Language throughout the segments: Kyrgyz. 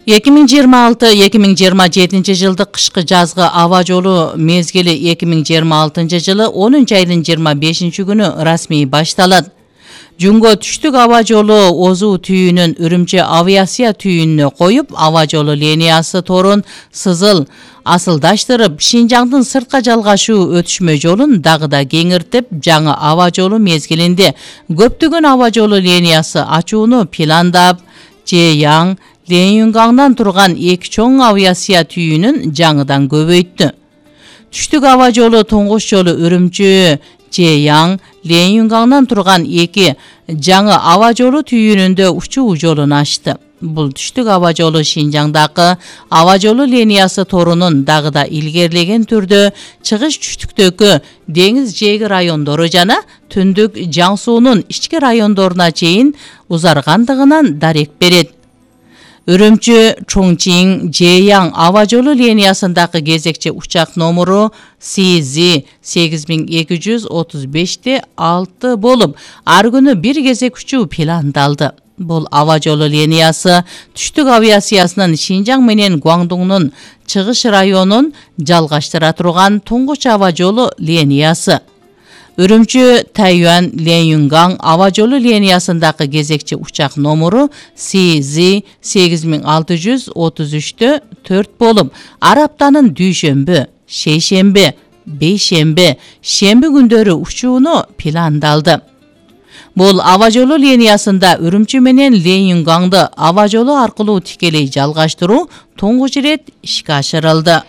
2026-2027 жылдык кышкы жазгы аба жолу мезгили 2026 жылы 10 айдын 25 күнү расмий башталат. Жунго түштүк аба жолу Озу түйүнүн Үрүмчү авиация түйүнүнө коюп, аба жолу линиясы торун асылдаштырып, Шинжаңдын сыртка жалгашуу өтүшмө жолун дагы да кеңиртип, жаңы аба жолу мезгилинде көптөгөн аба жолу линиясы ачууну пландап, Жеяң, Ленюнгаңдан турган эки чоң авиация түйүнүн жаңыдан көбөйттү. Түштүк аба жолу туңгуч жолу Үрүмчү, Жеяң, Ленюнгаңдан турган эки жаңы аба жолу түйүнүндө учуу жолун ачты. Бул түштүк аба жолу Шинжаңдагы аба жолу линиясы торунун дагы да илгерлеген түрдө чыгыш түштүктөгү деңиз жээги райондору жана түндүк Жаң суунун ички райондоруна чейин узаргандыгынан дарек берет. Үрүмчү, Чоңчиң, Жеяң аба жолу линиясындагы кезекчи учак номуру CZ8235-6 болуп, ар күнү бир кезек учуу пландалды. Бул аба жолу линиясы түштүк авиациясынын Шинжаң менен Гуаңдуңдун чыгыш районун жалгаштыра турган туңгуч аба жолу линиясы. Үрүмчү, Тайюан, Ленюнгаң аба жолу линиясындагы кезекчи учак номуру CZ8633-4 болуп, ар аптанын дүйшөмбү, шейшемби, бейшемби, шемби күндөрү учууну пландалды. Бул аба жолу линиясында Үрүмчү менен Ленюнгаңды аба жолу аркылуу тикелей жалгаштыруу туңгуч ирет ишке ашырылды.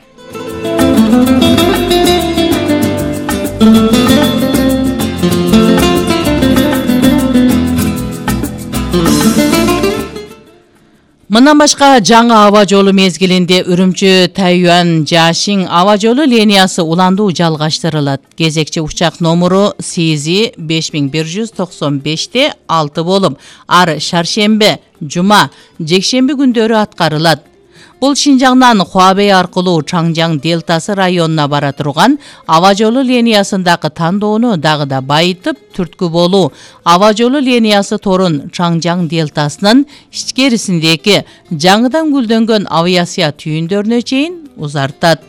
Мындан башка жаңы аба жолу мезгилинде Үрүмчү, Тайюан, Жашиң аба жолу линиясы уландуу жалгаштырылат. Кезекчи учак номуру CZ5195-6 болуп, ар шаршемби, жума, жекшемби күндөрү аткарылат. Бул Шинжаңдан Хуабей аркылуу Чаңжаң делтасы районуна бара турган аба жолу линиясындагы тандоону дагы да байытып, түрткү болуу аба жолу линиясы торун Чаңжаң делтасынын ичкерисиндеги жаңыдан гүлдөнгөн авиация түйүндөрүнө чейин узартат.